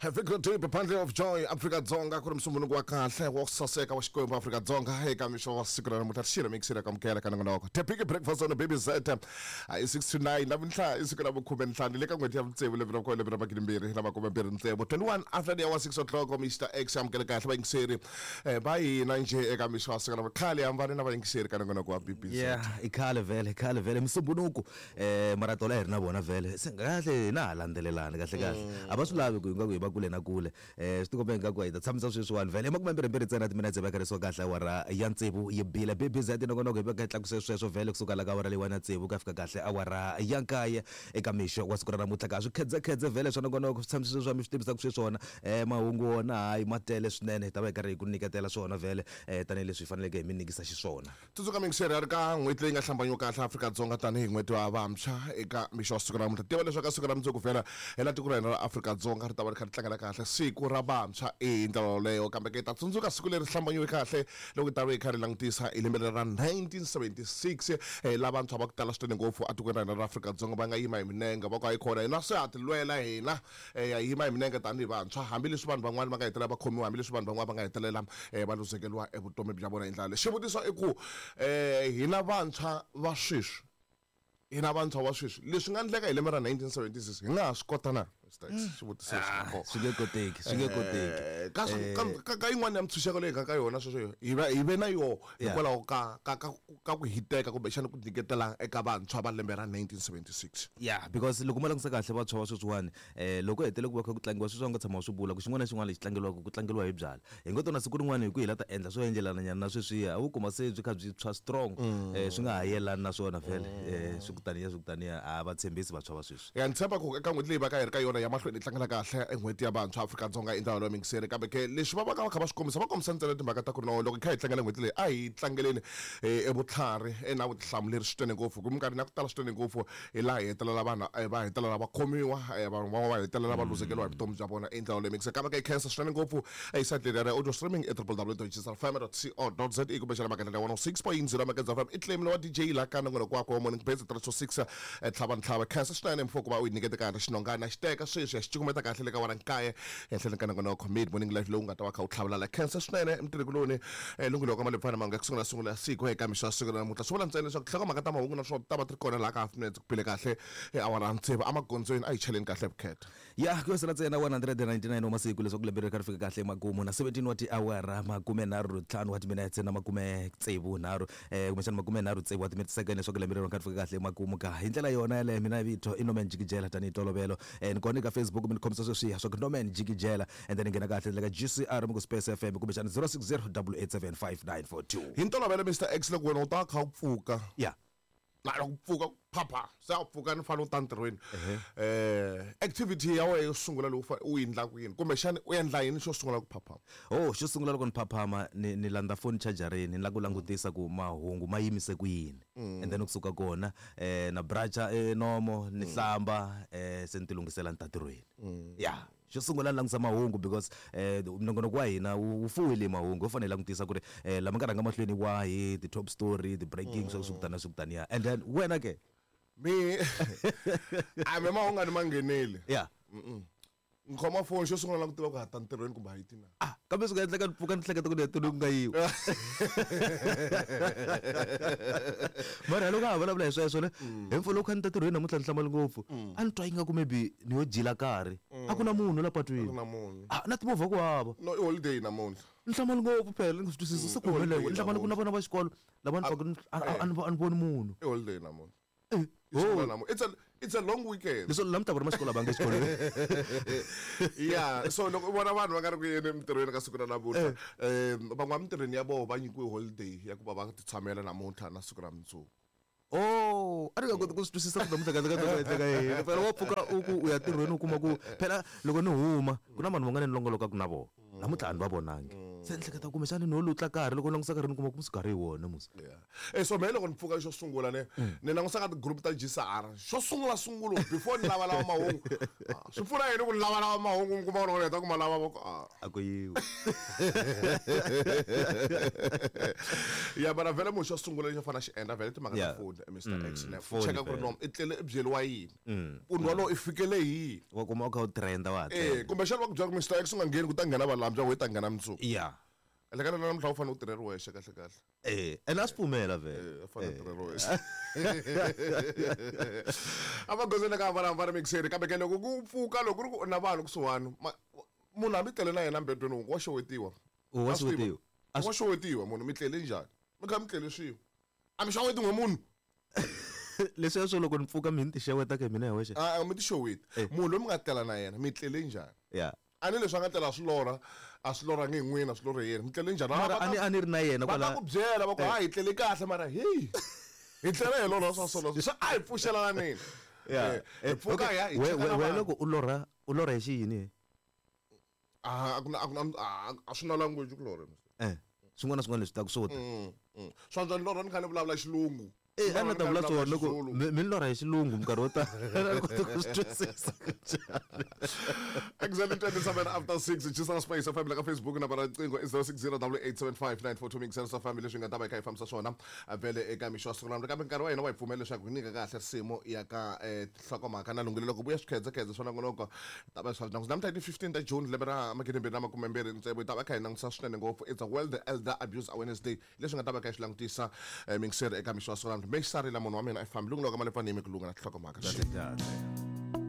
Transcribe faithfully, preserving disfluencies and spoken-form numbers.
Have a good day, Bundle of Joy, Afrika Dzonga, ku ri musunguluko wa kahle wa ku saseka wa Xikwembu Afrika Dzonga eka mixo wa siku ra namuntlha xilo mixira ka mukela ka nongonoko. The Big Breakfast on the Baby Z i six to nine namuntlha i siku ra vukhume ntlhanu le ka n'hweti ya vutsevu lembe ra lembe ra magidi mbirhi na makume mbirhi ntsevu twenty-one after the hour six o'clock Mister X amukele kahle vayingiseri va hina njhe eka mixo wa siku ra khale hambane na vayingiseri ka nongonoko wa B B Z. Yeah, i khale vhele, khale vhele musumbunuku eh maratola hi ri na vona vhele se kahle na ha landzelelani kahle kahle a va swi lavi ku hi nga ku hi va kule na kule eh swi tikomba ingaku hi ta tshamisa sweswiwani vhele makume mbirhi mbirhi ntsena timinetse va karisiwa kahle awara ya tsevu yi bile B B Z nongonoko hi va tlakuse sweswo vhele kusuka la ka awara leyiwani ya tsevu ku ya fika kahle awara ya nkaye eka mixo wa siku ra namuntlha ka swi khedzekhedze vhele swa nongonoko swi tshamisa sweswi mi swi tivisaka sweswona eh mahungu wona hayi ma tele swinene hi ta va hi karhi hi ku nyiketela swona vhele eh tanihileswi hi faneleke hi mi nyikisa xiswona. Tsundzuka mingiseri ya ri ka n'hweti leyi nga hlambanyiwa kahle Afrika-Dzonga tanihi n'hweti wa vantshwa eka mixo wa siku ra namuntlha. Tiva leswaku ka siku ra mundzuku vhela hi laha tiko ra hina ra Afrika-Dzonga ri ta va ri kha ri tlangela kahle siku ra vantshwa hi ndlela yoleyo kambe ke ta tsundzuka siku leri hlambanyiwe kahle loko hi ta va hi kha ri langutisa hi lembe ra nineteen seventy-six laha vantshwa va ku tala swinene ngopfu etikweni ra hina ra Afrika-Dzonga va nga yima hi minenge va ku hayi khona hina se ha ti lwela hina ya yima hi minenge tanihi vantshwa hambileswi vanhu van'wana va nga hetelela va khomiwa hambileswi vanhu van'wana va nga hetelela va luzekeriwa evutomi bya vona hi ndlela leyi. Xivutiso i ku hina vantshwa va sweswi hina vantshwa va sweswi leswi nga endleka hi lembe ra nineteen seventy-six hi nga ha swi kota na xivutiso swi nge koteki swi nge koteki ka ka ka yin'wana ya mintshunxeko leyi nga ka yona sweswo hi va hi ve na yoho hikwalaho ka ka ka ku hiteka kumbexana ku nyiketela eka vantshwa va lembe ra nineteen seventy-six. Yeah, because loko mo langutisa kahle vantshwa va sweswiwani eh loko hetele ku va kha ku tlangiwa sweswi va nga tshama swi vula ku xin'wana na xin'wana lexi tlangeriwaka ku tlangeriwa hi byala hi ngo tona siku rin'wana hi ku hi la ta endla swo endlelana nyana na sweswiya a wu kuma se byi kha byi tshwa strong eh swi nga ha yelani na swona vhele eh swi kutaniya swi kutaniya a va tshembisi vantshwa va sweswi. Ya ni tshemba ku eka n'hweti leyi va ka hi ri ka yona ya mahlweni hi tlangela kahle n'hweti ya vantshwa Afrika-Dzonga hi ndlela yo mingiseri kambe ke leswi va va ka va kha va swi kombisa va kombisa ntsena timhaka ta ku no loko hi kha hi tlangela n'hweti leyi a hi tlangeleni evutlhari na vutihlamuleri swinene ngopfu ku minkarhini ya ku tala swinene ngopfu hi laha hi hetelela vanhu va hetelela va khomiwa vanhu van'wana va hetelela va luzekeriwa hi vutomi bya vona hi ndlela leyi mingiseri kambe ke hi khensa swinene ngopfu esayitini ya audio streaming e w w w dot g s f m dot co dot z a kumbexana magandzelo ya one oh six point zero Magandza F M i claim wa D J laha ka nongonoko wakwe wa Morning Base three to six tlhava ntlhava khensa swinene mfo ku va u yi nyikete kahle xinongana xi teka sweswi ya xi cukumeta kahle le ka wena nkaye ehenhleni ka nongonoko Mid Morning Life lowu nga ta va kha u tlhavelala khensa swinene mtirhikuloni lunghelo ka malepfana manga ku sungula sungula siku eka mixo ya siku ra namuntlha swi vula ntsena leswaku tinhlokomhaka ta mahungu naswona ta va ti ri kona laha ka half minutes ku bile kahle awara ya tsevu emagondzweni a hi cheleni kahle vukhetha. Ya ku yosela ntsena one hundred and ninety-nine wa masiku leswaku lembe ri kha ri fika kahle emakumu na seventeen wa tiawara makume nharhu ntlhanu wa timinetse na makume tsevu nharhu eh kumbexana makume nharhu tsevu wa timinetse second leswaku lembe ri kha ri fika kahle emakumu ka hi ndlela yona yaleyo mina vito i Norman Jikijela tanihi tolovelo eh ni kona eka Facebook mi ni khomisa sweswiya swa ku Norman Jikijela and then nghena kahle le ka G C R mi ku Space F M kumbexana zero six zero double eight seven five nine four two. Hi ntolovelo Mister X loko wena u ta kha u pfuka yeah na loko pfuka phapha se a pfuka ni fanele u ta ntirhweni eh activity ya wena yo sungula loko u endlaka yini kumbexana u endla yini xo sungula ku phaphama? Oh xo sungula loko ni phaphama ni ni landza phone chargerini ni lava ku langutisa ku mahungu ma yimise ku yini and then kusuka kona eh na bracha eh nomo ni hlamba eh se ni ti lunghisela ni ta ntirhweni. Yeah, xo sungula ni langutisa mahungu because eh nongonoko wa hina wu fuwile mahungu ho fanele langutisa ku ri eh lama nga rhanga mahlweni wahi the top story the breaking swa swi kutana swi kutaniya and then wena ke mi a mi mahungu ni mangheneli yeah ni khoma phone xo sungula ku tiva ku ha ta ntirhweni kumbe ha yi tina ah kambe swi nga endleka ni pfuka ni hleketa ku ni ya ntirhweni ku nga yiwi mara loko a ha vulavula hi sweswo ne hi mpfula loko kha ni ta ntirhweni namuntlha ni hlamali ngopfu a ni twa ingaku maybe ni yo jila karhi a ku na munhu la patwini ah na timovha ku hava no i holiday namuntlha ni hlamali ngopfu phela ni nga swi twisisi se ku humelele ni hlamali ku na vana va xikolo lava ni pfaka a ni voni munhu i holiday namuntlha. Oh. It's a it's a long weekend. Leswi namuntlha va ri maxikolo a va nge xikolweni. Yeah, so loko u vona vanhu va nga ri ku yeni emintirhweni ka siku ra namuntlha eh van'wana emintirhweni ya vona va nyikiwe holiday ya ku va va ti tshamela namuntlha na siku ra mundzuku. Oh, a ni nga koti ku swi twisisa ku namuntlha kahle kahle ku endleka yini. Phela wa pfuka u ku u ya ntirhweni u kuma ku phela loko ni huma ku na vanhu van'wana ni longolokaka na vona. Namuntlha a ni va vonangi. Se ni hleketa kumbexani no lutla karhi loko ni langutisa karhi ni kuma ku musi karhi hi wona musi. Yeah. Eh so mehe loko ni pfuka xo sungula ne ni langusa ka ti-group ta G S R xo sungula sungulo before ni lavalava mahungu. Ah, swi pfuna yini ku ni lavalava mahungu mi kuma ku loko ni heta ku ma lava va ku ah. A ku yiwi. Ya, mara vhele munhu xo sungula lexi a fanele a xi endla vhele timhaka ta Yeah. foni, Mister X, ne Phone cheka ku ri vhele. no i tlele i byeliwa yini munhu walowo, i fikele hi yini. Wa kuma u kha u trenda wa ha Eh trenda. kumbexana va ku byela ku Mister X u nga ngheni, ku ta nghena valambya, we ta nghena mundzuku. Ya. Elekana namuntlha u fanele u tirheri wexe kahle kahle. Eh, ene a swi pfumela vhele. Eh, u fanele u tirheri wexe a va gozeni ka hambana mixeri. Kambe ke loko ku pfuka, loko ku ri ku na vanhu kusuhani, ma- munhu hambi tlele na yena mbedweni wun'we, wa xewetiwa. U wa A swi tiva. xewetiwa. A Wa xewetiwa munhu, mi tlele njhani, mi kha mi tlele swin'we, a mi xeweti n'we munhu. Leswiya swo loko ni pfuka mi ni ti xeweta ka mina hi wexe. A a mi ti xeweti. Eh. Munhu loyi mi nga tlela na yena, mi tlele njhani? Ya. A ni leswi a nga tlela swi lorha, a swi lorhangi hi n'wina, swi lorhe yena, mi tlele njhani? Mara Va ta- a ni a ni ri na yena va ta kwala. ku byela va ku ha hi tlele kahle, mara heyi hi tlele hi lorha swa solo swi a hi pfuxelananini. Ya. Eh, hi pfuka Okay, hi ya hi we cheka we na we vanhu. loko u lorha, u lorha hi xiyini? Ah, a ku na a ku na ah, a swi na language ku lorha. Eh, swin'wana na swin'wana leswi taku swo ta. Mm, mm. Swa antswa ni lorha ni kha ni vulavula xilungu. Eh, a Ni ni ta lorha vula ni kha ni swona vulavula loko Xizulu. mi mi ni lorha hi xilungu minkarhi wo tala, a ni koti ku swi twisisa ku njhani. Exactly twenty-seven after six, Chisana Space F M la ka Facebook na bara riqingho i zero six zero eight eight seven five nine four two. Mixer sa family leswi nga ta va hi kha hi fambisa swona vhele eka mixo wa siku namuntlha. Kambe nkarhi wa hina wa hi pfumela leswaku hi nyika kahle risimu ya ka eh, tinhlokomhaka na lunghelo loko vuya swikhedzekhedze swa nongonoko ta va swa langusa namuntlha hi ti fifteen ta June lembe ra magidi mbirhi na makume mbirhi tsevu. Hi ta va kha hi langutisa swinene ngopfu, it's a World Elder Abuse Awareness Day, leswi nga ta va kha hi swi langutisa eh, mixer eka mixo wa siku namuntlha. Mexarila munhu wa mina i fambi lunghelo ka malepfani yimi ku lunga na tinhlokomhaka. Kahle kahle.